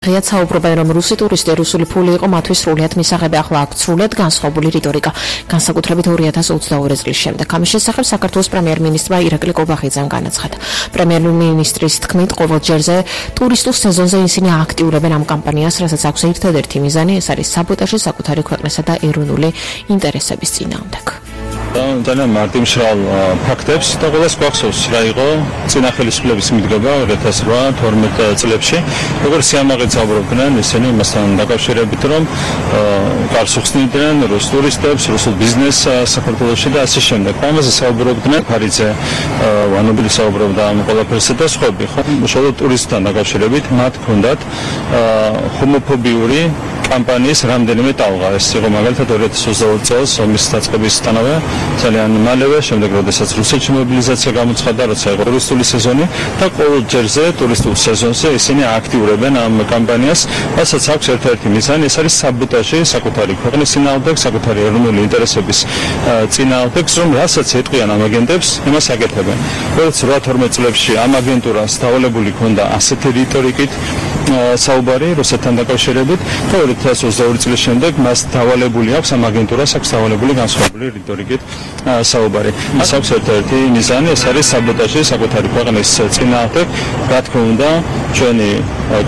ღიად საუბრობენ, რომ რუსი ტურისტი რუსული ფული იყო მათთვის სრულიად მისაღები, ახლა აქვთ სრულიად განსხვავებული რიტორიკა, განსაკუთრებით 2022 წლის შემდეგ. ამის შესახებ საქართველოს პრემიერ-მინისტრმა ირაკლი კობახიძემ განაცხადა. პრემიერ-მინისტრის თქმით, ყოველ ჯერზე ტურისტულ სეზონზე ისინი აქტიურებენ ამ კამპანიას, რასაც აქვს ერთადერთი მიზანი, ეს არის საბოტაჟი საკუთარი ქვეყნისა და ეროვნული ინტერესების წინააღმდეგ. ძალიან მარტივმშრალ ფაქტებს და ყველას გვახსოვს რა იყო წინა ხელისუფლების მიდგება 2008-12 წლებში, როგორც სიამაყედ საუბრობდნენ ისინი იმასთან დაკავშირებით, რომ გარს უხსნიდნენ რუს ტურისტებს, რუსულ ბიზნესს საქართველოში და ასე შემდეგ. ამაზე საუბრობდნენ ფარიძე, ვანობილი საუბრობდა ამ ყველაფერსა და სხვები, ხო? უშუალოდ ტურისტთან დაკავშირებით მათ ჰქონდათ ჰომოფობიური კამპანიის რამდენიმე ტალღა. ეს იყო მაგალითად 2022 წელს ომის დაწყებისთანავე ძალიან მალევე, შემდეგ როდესაც რუსეთში მობილიზაცია გამოცხადდა, როცა იყო ტურისტული სეზონი და ყოველ ჯერზე ტურისტულ სეზონზე ისინი აქტიურებენ ამ კამპანიას, რასაც აქვს ერთ-ერთი მიზანი, ეს არის საბოტაჟი საკუთარი ქვეყნის წინააღმდეგ, საკუთარი ეროვნული ინტერესების წინააღმდეგ, რომ რასაც ეტყვიან ამ აგენტებს, იმას აკეთებენ. 2008-12 წლებში ამ აგენტურას დავალებული ჰქონდა ასეთი რიტორიკით საუბარი რუსეთთან დაკავშირებით და 2022 წლის შემდეგ მას დავალებული აქვს ამ აგენტურას აქვს დავალებული განსხვავებული რიტორიკით საუბარი. მას აქვს ერთ-ერთი მიზანი, ეს არის საბოტაჟი საკუთარი ქვეყნის წინააღმდეგ, რა თქმა უნდა, ჩვენი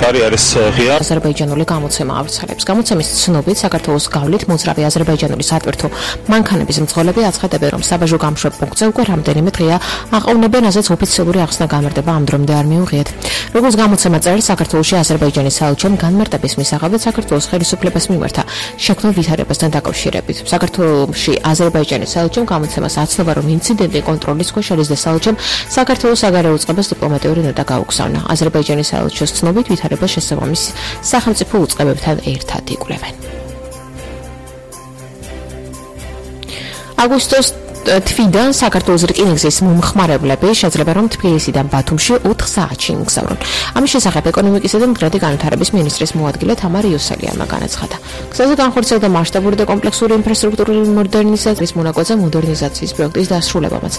კარიერის ღია აზერბაიჯანული გამოცემა ავრცელებს. გამოცემის ცნობით, საქართველოს გავლით მოძრავი აზერბაიჯანული სატვირთო მანქანების მძღოლები აცხადებენ, რომ საბაჟო გამშვებ პუნქტზე უკვე რამდენიმე დღეა აყოვნებენ, ასეც ოფიციალური ახსნა გამარტება ამ დრომდე არ მიუღიათ. როგორც გამოცემა წერს, საქართველოში აზერბაიჯანის საელჩომ განმარტების მისაღებად საქართველოს ხელისუფლებას მიმართა შექმნილ ვითარებასთან დაკავშირებით. საქართველოში აზერბაიჯანის საელჩომ გამოცემას აცნობა, რომ ინციდენტი კონტროლის ქვეშ არის და საელჩომ საქართველოს საგარეო უწყებას დიპლომატიური ნოტა გაუგზავნა. აზერბაიჯანის საელჩოს ცნობით ვითარებას შესაბამის სახელმწიფო უწყებებთან ერთად იკვლევენ. აგვისტოს თვიდან საქართველოს რკინიგზის მომხმარებლები შეძლება რომ თბილისიდან ბათუმში 4 საათში იმგზავრონ. ამის შესახებ ეკონომიკისა და მდგრადი განვითარების მინისტრის მოადგილე თამარ იოსელიანმა განაცხადა. გზაზე განხორციელდა მასშტაბური და კომპლექსური ინფრასტრუქტურული მოდერნიზაციის მონაკვეთზე მოდერნიზაციის პროექტის დასრულებამაც.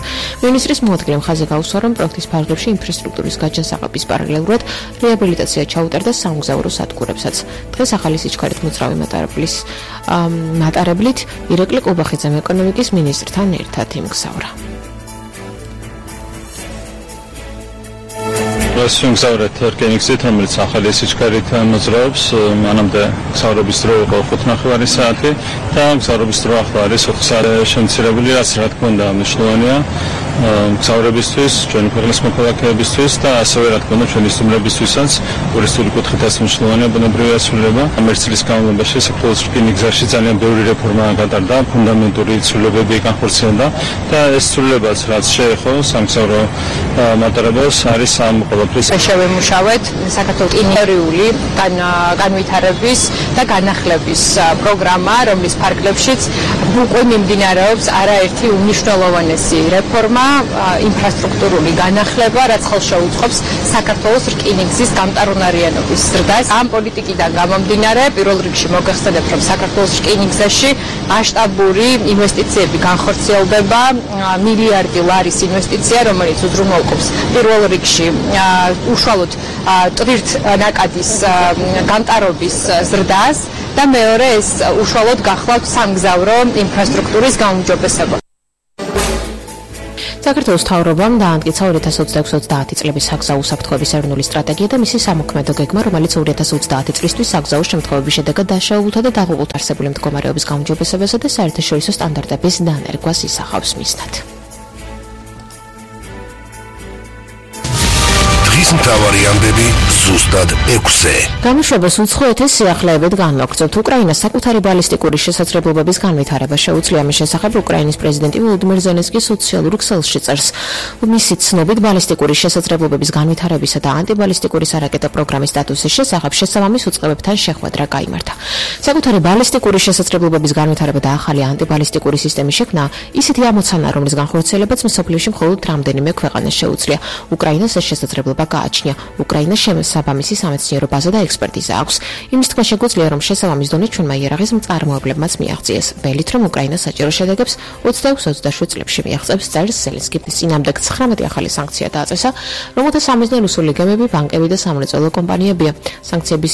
მინისტრის მოადგილემ ხაზი გაუსვა, რომ პროექტის ფარგლებში ინფრასტრუქტურის გაჯანსაღების პარალელურად რეაბილიტაცია ჩაუტარდა სამგზავრო სადგურებსაც. დღეს ახალი სიჩქარით მოძრავი მატარებლით ირაკლი კობახიძემ ეკონომიკის მინისტრთან ერთად იმგზავრა. ვიმგზავრეთ რკინიგზით, რომელიც ახალი სიჩქარით მოძრაობს. მანამდე გზავრობის დრო იყო 5:30 საათი და გზავრობის დრო ახლა არის 4 საათი შემცირებული, რაც რა თქმა უნდა მნიშვნელოვანია მგზავრებისთვის, ჩვენი ქვეყნის მოქალაქეებისთვის და ასევე რა თქმა უნდა ჩვენი სტუმრებისთვისაც ტურისტული კუთხითაც მნიშვნელოვანია ბუნებრივი ასრულება. ამ ერთ წლის განმავლობაში საქართველოს რკინიგზაში ძალიან ბევრი რეფორმა გატარდა, ფუნდამენტური ცვლილებები განხორციელდა და ეს ცვლილებაც რაც შეეხო სამგზავრო მატარებელს არის ამ ყველაფრის შევემუშავეთ საქართველოს ინტერიული განვითარების და განახლების პროგრამა, რომლის ფარგლებშიც უკვე მიმდინარეობს არაერთი უმნიშვნელოვანესი რეფორმა, ინფრასტრუქტურული განახლება, რაც ხელშეუწყობს საქართველოს რკინიგზის გამტარუნარიანობის ზრდას. ამ პოლიტიკიდან გამომდინარე, პირველ რიგში მოგეხსენებთ, რომ საქართველოს რკინიგზაში მასშტაბური ინვესტიციები განხორციელდება, მილიარდი ლარის ინვესტიცია, რომელიც უზრუნველყოფს პირველ რიგში უშუალოდ ტვირთნაკადის გამტარობის ზრდას და მეორე ეს უშუალოდ გახლავთ სამგზავრო ინფრასტრუქტურის გაუმჯობესება. საქართველოს მთავრობამ დაამტკიცა 2026-30 წლების საგზაო უსაფრთხოების ეროვნული სტრატეგია და მისი სამოქმედო გეგმა, რომელიც 2030 წლისთვის საგზაო შემთხვევების შედეგად დაშავებულთა და დაღუპულთ არსებული მდგომარეობის გაუმჯობესებასა და საერთაშორისო სტანდარტების დანერგვას ისახავს მიზნად. მთავარი ამბები ზუსტად 6-ზე. გამოშვებას უცხოეთის სიახლეებით განვაგრძობთ. უკრაინას საკუთარი ბალისტიკური შესაძლებლობების განვითარება შეუძლია. ამის შესახებ უკრაინის პრეზიდენტი ვოლოდიმირ ზელენსკი სოციალურ ქსელში წერს. მისი ცნობით ბალისტიკური შესაძლებლობების განვითარებისა და ანტიბალისტიკური სარაკეტო პროგრამის სტატუსის შესახებ შესაბამის უწყებებთან შეხვედრა გაიმართა. საკუთარი ბალისტიკური შესაძლებლობების განვითარება და ახალი ანტიბალისტიკური სისტემის შექმნა ისეთი ამოცანა, რომლის განხორციელებაც მსოფლიოში მხოლოდ რამდენიმე ქვეყანას შეუძლია. უკრაინას ეს შესაძლებლობა გააჩნია. უკრაინას შესაბამისი სამეცნიერო ბაზა და ექსპერტიზა აქვს. იმის თქმა შეგვიძლია, რომ შესაბამის დონე ჩვენმა იარაღის მწარმოებლებმაც მიაღწიეს. ველით, რომ უკრაინა საჭირო შედეგებს 26-27 წლებში მიაღწევს, წერს ზელენსკი. წინამდეგ 19 ახალი სანქცია დააწესა, რომელთა სამიზნე რუსული გემები, ბანკები და სამრეწველო კომპანიებია. სანქციების